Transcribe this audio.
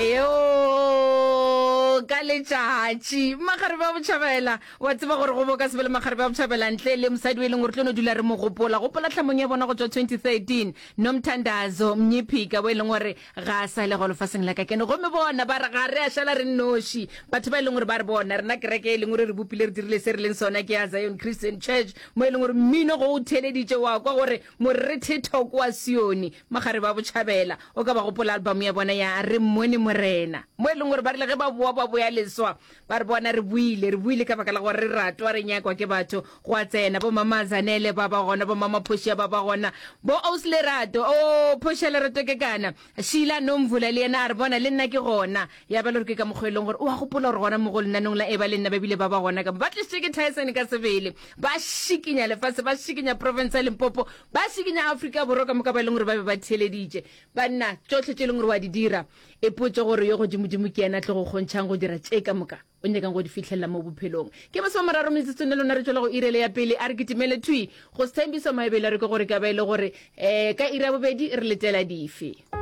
Eo ka letšatši magarebe a botšhabela wa tseba gore go bo ka se be le magarebe a botšhabela ntle le mosadi o e leng gore tlo no dula re mo gopola gopola tlhamong ya bona go tšwa 2013 nomthandazo mnyiphika bo e leng gore ga a sa le go lefaseng la ka kene gomme bona ba re ga re a šala re nnoši batho ba e leng gore ba re bona rena kereke e leng gore re bopile re dirile se re leng sona ke ya zion christian church mo e leng gore mmino go o theleditše wa kwa gore morethetho kwa sione Magare ba Botšhabela, o ka ba gopola album ya bona ya Re Mmone Morena, mo e leng gore ba rile ge ba boa ba boya leswa, ba re bona re boile, re boile ka baka la gore re ratwa, re nyakwa ke batho. Gwa tsena bo Mama Zanele ba ba gona, bo Mama Phošia ba ba gona, bo Aus Lerato, oh Phošia Lerato ke kana, Sheila Nomvula le yena a re bona le nna ke gona. Ya ba le gore ke ka mokgwa e leng gore o a gopola gore gona mo go lenanong la Eba le nna ba bile ba ba gona ka mo, ba tlišitše ke Tyson ka sebele, ba šikinya lefase, ba šikinya profense ya Limpopo, Ba šikinya Afrika Borwa ka moka ba e leng gore ba be ba theeleditše. Banna, tšohle tše e leng gore wa di dira, ipotše gore yo Godimodimo ke yena a tlo go kgontšhang go dira tše ka moka o nyakang go di fihlelela mo bophelong. Ke masomararo metsotsong le lona re tšwela go iri ele ya pele. A re kitimele thwi go Sthembiso Maebele re kwe gore ka ba e le gore um ka iri ya bobedi re letela dife.